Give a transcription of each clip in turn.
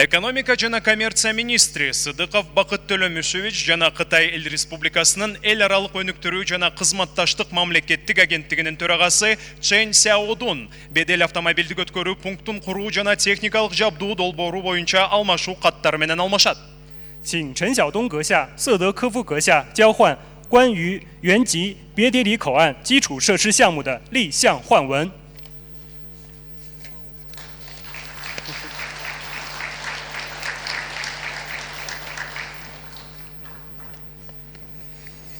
Экономика жана коммерция министри Сыдыков Бакыт Төлөмүшевич жана Кытай Эл Республикасынын эл аралык өнүктүрүү жана кызматташтык мамлекеттик агенттигинин төрагасы Чен Сяодун бедел автомобилдик өткөрүү пунктун куруу жана техникалык жабдуу долбоору боюнча алмашуу каттары менен алмашат. 请陈晓东阁下、瑟德科夫阁下交换关于原籍别叠里口岸基础设施项目的立项换文。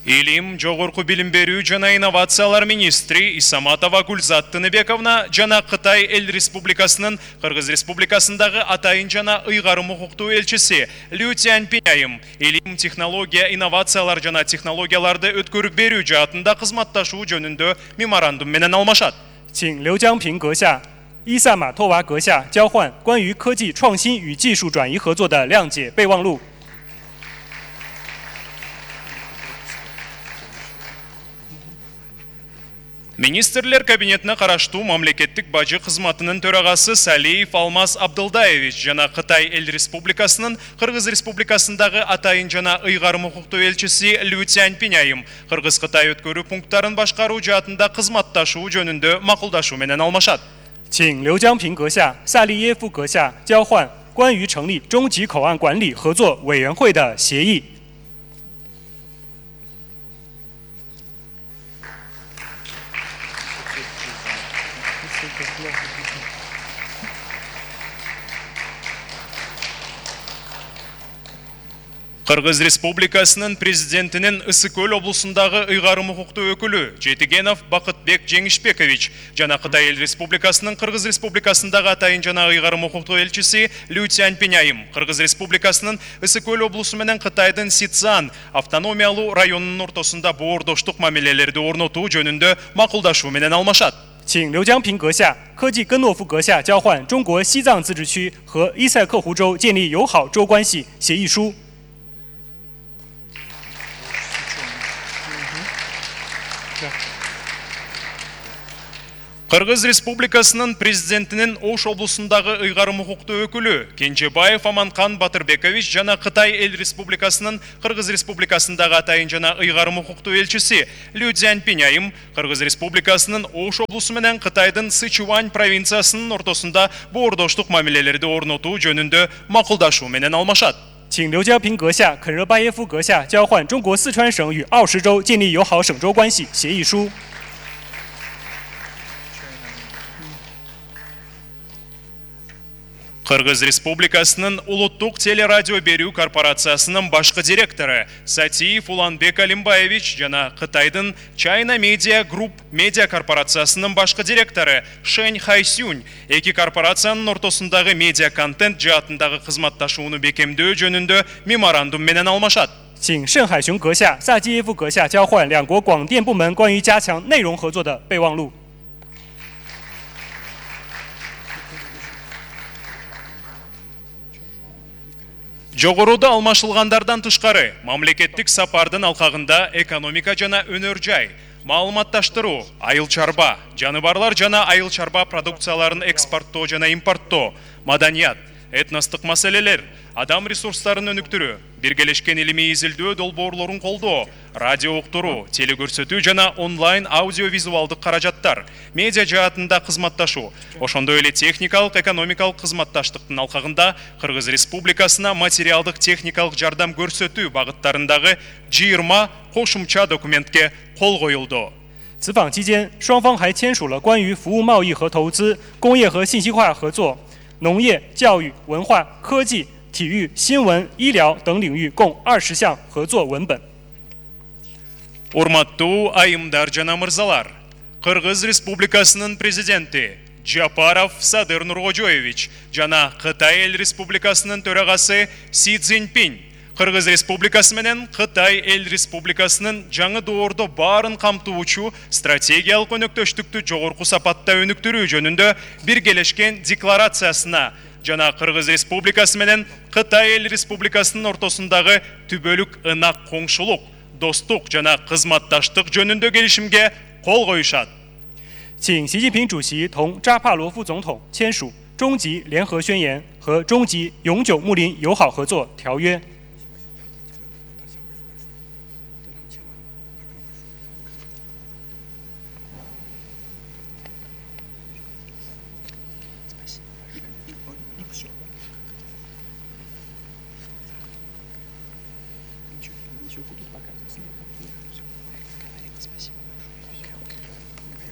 Илим, жогорку билим берүү жана инновациялар министри Исаматова Гульзат Тыныбековна жана Кытай Эл Республикасынын Кыргыз Республикасындагы атайын жана ыйгарым укуктуу элчиси Лю Цяньпиняйым илим, технология, инновациялар жана технологияларды өткөрүп берүү жаатында кызматташуу жөнүндө меморандум менен алмашат. 请刘江平阁下、伊萨马托娃阁下交换关于科技创新与技术转移合作的谅解备忘录。 Министрлер кабинетине караштуу мамлекеттик бажы кызматынын төрагасы Салиев Алмаз Абдылдаевич жана Кытай Эл Республикасынын Кыргыз Республикасындагы атайын жана ыйгарым укуктуу элчиси Лю Цяньпиняйым Кыргыз-Кытай өткөрүү пункттарын башкаруу жаатында кызматташуу жөнүндө макулдашуу менен алмашат. 请刘江平阁下、萨利耶夫阁下交换关于成立中级口岸管理合作委员会的协议。 Кыргыз Республикасынын президентинин Ысык-Көл облусундагы ыйгарым укуктуу өкүлү Жетигенов Бакытбек Жеңишбекович жана Кытай Эл Республикасынын Кыргыз Республикасындагы атайын жана ыйгарым укуктуу элчиси Лю Цяньпиняйым Кыргыз Республикасынын Ысык-Көл облусу менен Кытайдын Сицан автономиялуу районунун ортосунда боордоштук мамилелерди орнотуу жөнүндө макулдашуу менен алмашат. 请刘江平阁下、科技根诺夫阁下交换中国西藏自治区和伊塞克湖州建立友好州关系协议书。 Кыргыз Республикасынын президентинин Ош облусундагы ыйгарым укуктуу өкүлү Кенжебаев Аманкан Батырбекович жана Кытай Эл Республикасынын Кыргыз Республикасындагы атайын жана ыйгарым укуктуу элчиси Лю Цяньпиняйым Кыргыз Республикасынын Ош облусу менен Кытайдын Сычуань провинциясынын ортосунда боордоштук мамилелерди орнотуу жөнүндө макулдашуу менен алмашат. 请刘江平阁下、肯热巴耶夫阁下交换中国四川省与奥什州建立友好省州关系协议书。 Кыргыз Республикасынын Улуттук телерадио берүү корпорациясынын башкы директору Сатиев Уланбек Алимбаевич жана Кытайдын China Media Group медиа корпорациясынын башкы директору Шэнь Хайсюнь эки корпорациянын ортосундагы медиа контент жаатындагы кызматташууну бекемдөө жөнүндө меморандум менен алмашат. 请盛海雄阁下、萨基耶夫阁下交换两国广电部门关于加强内容合作的备忘录。 Жогоруда алмашылгандардан тышкары, мамлекеттик сапардын алкагында экономика жана өнөр жай, маалыматташтыруу, айыл чарба, жаныбарлар жана айыл чарба продукцияларын экспорттоо жана импорттоо, маданият, этностук маселелер, адам ресурстарын өнүктүрүү, биргелешкен илимий изилдөө долбоорлорун колдоо, радио уктуруу, телекөрсөтүү жана онлайн аудиовизуалдык каражаттар, медиа жаатында кызматташуу, ошондой эле техникалык экономикалык кызматташтыктын алкагында Кыргыз Республикасына материалдык техникалык жардам көрсөтүү багыттарындагы 20 кошумча документке кол коюлду. 此访期间，双方还签署了关于服务贸易和投资、工业和信息化合作、农业、教育、文化、科技、体育、新闻、医疗等领域共20项合作文本。 Урматтуу айымдар жана мырзалар, Кыргыз Республикасынын президенти Жапаров Садыр Нуркожоевич жана Кытай Эл Республикасынын төрагасы Си Цзиньпинь Кыргыз Республикасы менен Кытай Эл Республикасынын жаңы доордо баарын камтуучу стратегиялык өнөктөштүктү жогорку сапатта өнүктүрүү жөнүндө биргелешкен декларациясына жана Кыргыз Республикасы менен Кытай Эл Республикасынын ортосундагы түбөлүк ынак коңшулук, достук жана кызматташтык жөнүндө келишимге кол коюшат. 请习近平主席同扎帕罗夫总统签署终极联合宣言和和终极永久睦邻友好合作条约。